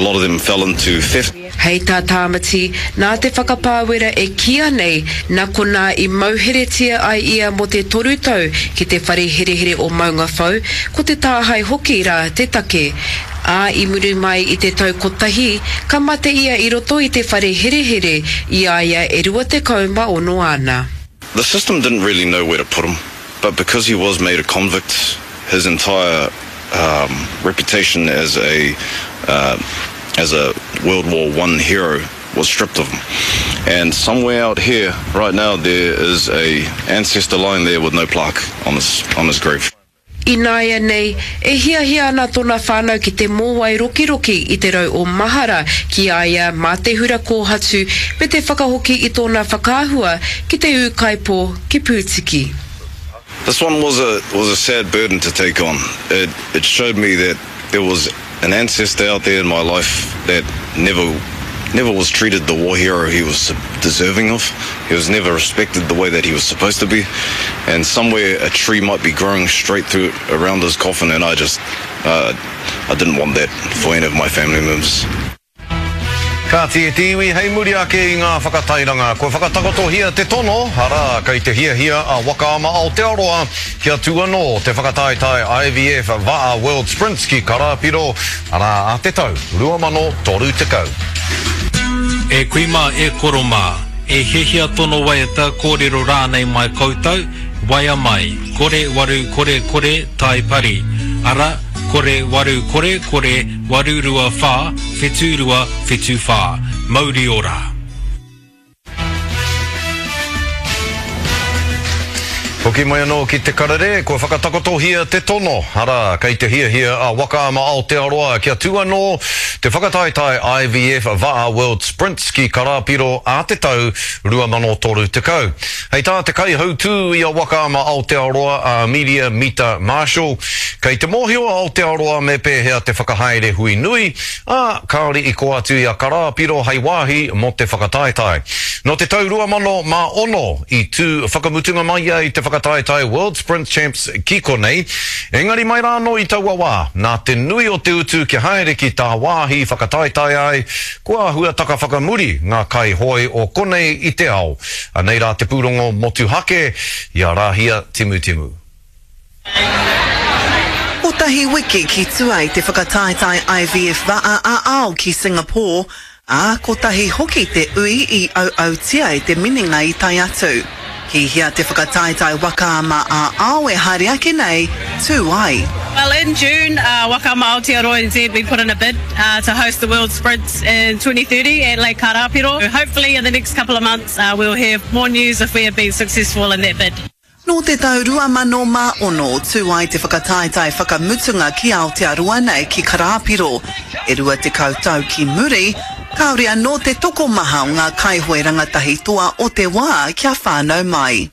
lot of them fell into theft. Hei tā Tāmati, nā te whakapāwera e kīia nei, nā konā i mauheretia ai ia mō te toru tau ki te whare herehere o Maungawhau, ko te tāhae hoki rā te take. Ā, i muri mai i te tau kotahi, ka mate ia i roto i te whare herehere i a ia e 26 ana. The system didn't really know where to put him, but because he was made a convict, his entire um, reputation as a uh, as a World War One hero was stripped of him. And somewhere out here, right now, there is a ancestor lying there with no plaque on his on his grave. Ināianei, e hiahia ana tōna whānau ki te mōwai rokiroki i te rau o mahara ki a ia mā te hura kōhatu me te whakahoki i tōna whakaahua ki te ūkaipō ki Pūtiki. This one was a was a sad burden to take on. It it showed me that there was an ancestor out there in my life that never never was treated the war hero he was deserving of. He was never respected the way that he was supposed to be. And somewhere a tree might be growing straight through around his coffin and I just uh, I didn't want that for any of my family members. Kāti e te iwi, hei muri ake i ngā whakatairanga, kua whakatakotohia te tono, arā, kei te hiahia a Waka Ama Aotearoa kia tū anō te whakataetae IVF Va'a World Sprints ki Karāpiro, arā, ā te tau 2030. E kui mā, e koro mā, e hiahia tono waiata, kōrero rānei mai koutou, waea mai, kore waru kore kore tai pari, ara, kore waru kore kore 8 2 4, 7 2, 7 4. Mauri ora! Hoki mai anō ki te karere, kua whakatakotohia te tono, arā, kei te hiahia a Waka Ama Aotearoa kia tū anō te whakataetae IVF Va'a World Sprints ki Karāpiro ā te tau 2030. Hei tā te kaihautū i a Waka Ama Aotearoa a Amelia Mita Marshall, Kei te mōhio a Aotearoa me pēhea te whakahaere hui nui, ā, kāore i kō atu i a Karāpiro hei wāhi mō te whakataetae. Nō te tau 2006 i tū whakamutunga mai ai te whakataetae World Sprint Champs ki konei, engari mai rā anō i taua wā, nā te nui o te utu kia haere ki tāwāhi whakataetae ai, kua āhua taka whakamuri ngā kaihoe o konei i te ao. Anei rā te pūrongo motuhake i a Rāhia Timutimu. Kotahi wiki ki tua i te whakataetae IVF Va'a ā-Ao ki Singapore, ā, kotahi hoki te ui i auautia e te minenga i tae atu. Ki hea te whakataetae waka ama ā-ao e haere ake nei, tū ai? Well in June, Waka Ama Aotearoa NZ we put in a bid to host the World Sprints in 2030 at Lake Karāpiro. Hopefully in the next couple of months we'll hear more news if we have been successful in that bid. Nō te tau 2006 tū ai te whakataetae whakamutunga ki Aotearoa nei ki Karāpiro. E 20 tau ki muri, kāore anō te tokomaha o ngā kaihoe rangatahi toa o te wā kia whānau mai.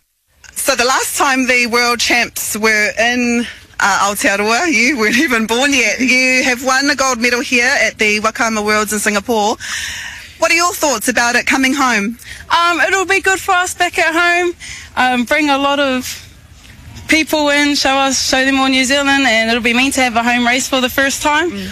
So the last time the world champs were in Aotearoa, you weren't even born yet. You have won a gold medal here at the Waka Ama Worlds in Singapore. What are your thoughts about it coming home? Um, it'll be good for us back at home. Um, bring a lot of people in, show us, show them all New Zealand, and it'll be mean to have a home race for the first time. Mm.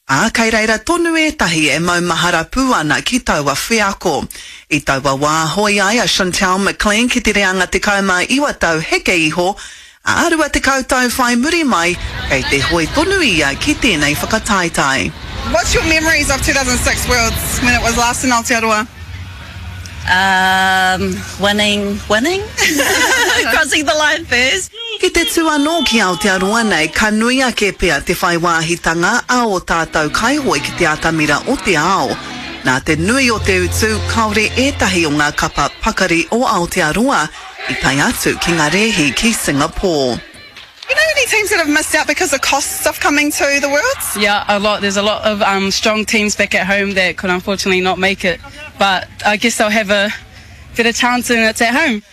Ā, kei reira tonu ētahi e maumahara pū ana ki taua wheako. I taua wā, hoe ai a Chantelle McLean ki te reanga 19 tau heke iho, Ā, 20 tau whai muri mai, kei te hoe tonu ia ki tēnei whakataetae. What's your memories of 2006 Worlds when it was last in Aotearoa? Um, winning, winning? Crossing the line first. Ki te tū anō ki Aotearoa nei, ka nui ake pea te whai wāhitanga a ō tātou kaihoe ki te atamira o te ao. Nā te nui o te utu, kāore ētahi o ngā kapa pakari o Aotearoa I tae atu ki ngā rēhi ki Singapore. You know any teams that have missed out because of costs of coming to the Worlds? Yeah, a lot. There's a lot of um, strong teams back at home that could unfortunately not make it. But I guess they'll have a better chance when it's at home.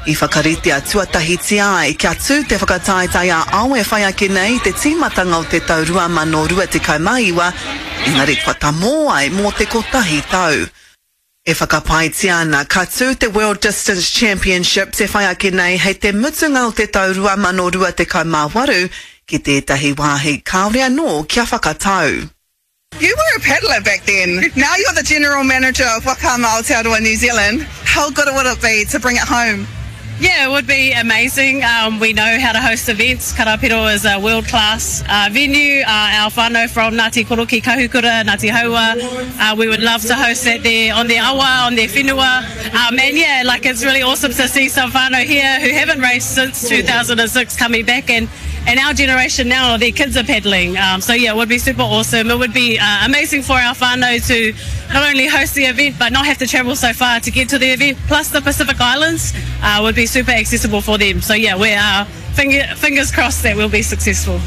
I whakaritea tuatahitia ai kia tū te whakataetae ā-ao e whai ake nei i te tīmatanga o te tau 2029, engari kua tamō ai mō te kotahi tau. E whakapaetia ana ka tū te World Distance Championships e whai ake nei hei te mutunga o te tau 2028 ki tētahi wāhi kāore anō kia whakatau. You were a paddler back then. Now you're the general manager of Waka Ama Aotearoa New Zealand. How good would it be to bring it home? Yeah, it would be amazing. Um, we know how to host events. Karapiro is a world-class uh, venue. Uh, our whānau from Ngāti Koroki Kahukura, Ngāti Haua, uh, we would love to host that there on their awa, on their whenua. Um, and yeah, like it's really awesome to see some whānau here who haven't raced since 2006 coming back and and our generation now, their kids are paddling. Um, so yeah, it would be super awesome. It would be uh, amazing for our whānau to not only host the event, but not have to travel so far to get to the event. Plus the Pacific Islands uh, would be super accessible for them. So yeah, we are finger, fingers crossed that we'll be successful.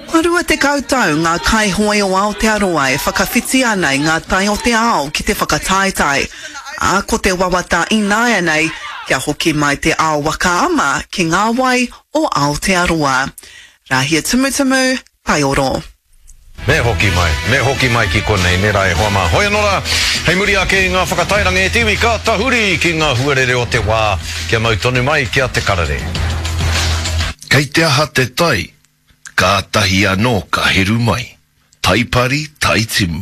Kua 20 tau ngā kaihoe o Aotearoa e whakawhiti ana i ngā tai o te ao ki te whakataetae, ā, ko te wawata ināianei kia hoki mai te ao waka ama ki ngā wai o Aotearoa. Rahia Tumutumu, Taioro. Me hoki mai, me hoki mai ki konei, nē rā e hoa mā. Hoi anō rā, hei muri ake i ngā whakatairanga e te iwi ka tahuri ki ngā huarere o te wā, kia mau tonu mai ki a Te Karere. Kei te aha te tai, kātahi anō ka heru mai. Taipari, tai timu.